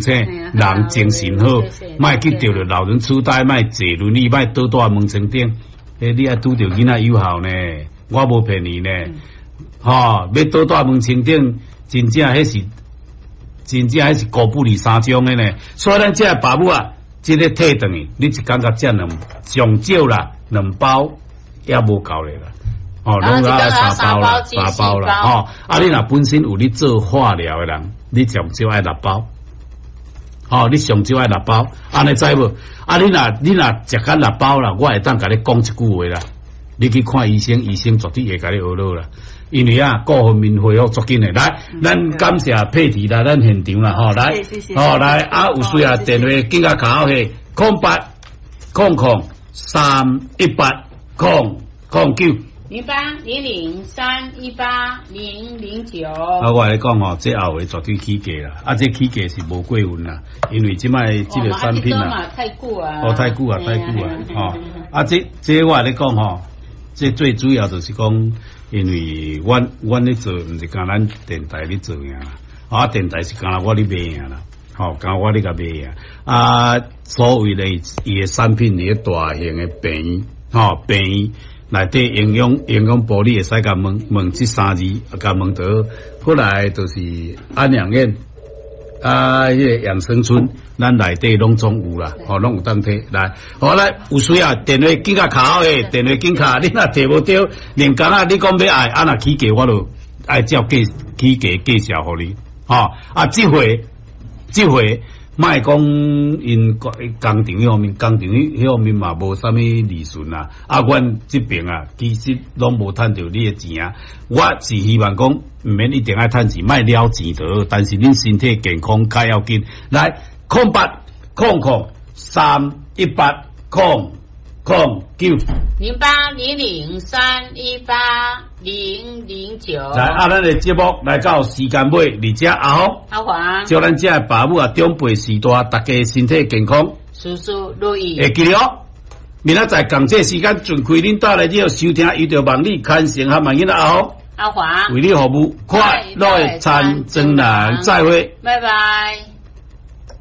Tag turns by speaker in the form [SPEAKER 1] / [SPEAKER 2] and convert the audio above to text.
[SPEAKER 1] 醒，人精神好，莫去著著老人痴呆，莫坐輪椅，莫倒佇門床頂。欸，你愛拄著囡仔有孝呢，我無騙你呢。吼，欲倒佇門床頂，真正彼是，真正彼是孤不離三種的呢。所以咱這个爸母啊，這个退轉去，你一工共食兩上少啦，兩包也無夠咧啦。哦，攏愛三包啦，三包啦，吼。啊，你若本身有咧做化療的人，你上少愛六包。吼，你上少愛六包，按呢知無？啊，你若食甲六包啦，我會當共你講一句話啦。你去看醫生，醫生絕對會共你呵咾啦。因為啊，各方面恢復足緊的。來，咱感謝佩蒂來咱現場啦，吼，來，吼來，啊，有需要電話緊共敲去08000318-009。
[SPEAKER 2] 0800318009。
[SPEAKER 1] 啊，我來講吼，這後話絕對起價啦，啊，這起價是無過分啦，因為這擺這個產品啊，
[SPEAKER 2] 太久啊，
[SPEAKER 1] 哦，太久啊，太久啊，吼，啊，這我來講吼，這最主要就是講，因為阮咧做，毋是干咱電台咧做爾啦，啊，電台是干焦我咧賣爾啦，吼，干焦我咧共賣爾，啊，所謂的伊的產品佇咧大型的病院，吼，病院內底營養部，你會使共問問這三字，共問著。過來就是安養院，啊，彼个養生村，咱內底攏總有啦，吼，攏有當提來。好來，有需要電話緊共敲的，電話緊敲，你若提無著，連工仔你講欲愛，啊若起價我就愛照價起價介紹予你，吼，啊，這回。莫講𪜶工廠彼方面，工廠彼方面嘛無啥物利潤啦。啊，阮這爿啊，其實攏無趁著你的錢啊。我是希望講，毋免一定愛趁錢，莫了錢就好。但是恁身體健康較要緊。來，0800318009。
[SPEAKER 2] 0800318009。
[SPEAKER 1] 來，啊，咱的節目來到時間尾，佇遮阿福，
[SPEAKER 2] 阿黃，
[SPEAKER 1] 祝咱遮的爸母啊，長輩序大，大家身體健康，
[SPEAKER 2] 事事如意。
[SPEAKER 1] 會記得哦，明仔載仝這時間，準開恁帶來之後收聽，伊著望你牽成和萬囡仔阿福，
[SPEAKER 2] 阿黃，
[SPEAKER 1] 為你服務，快樂的田莊人，再會，
[SPEAKER 2] 拜拜。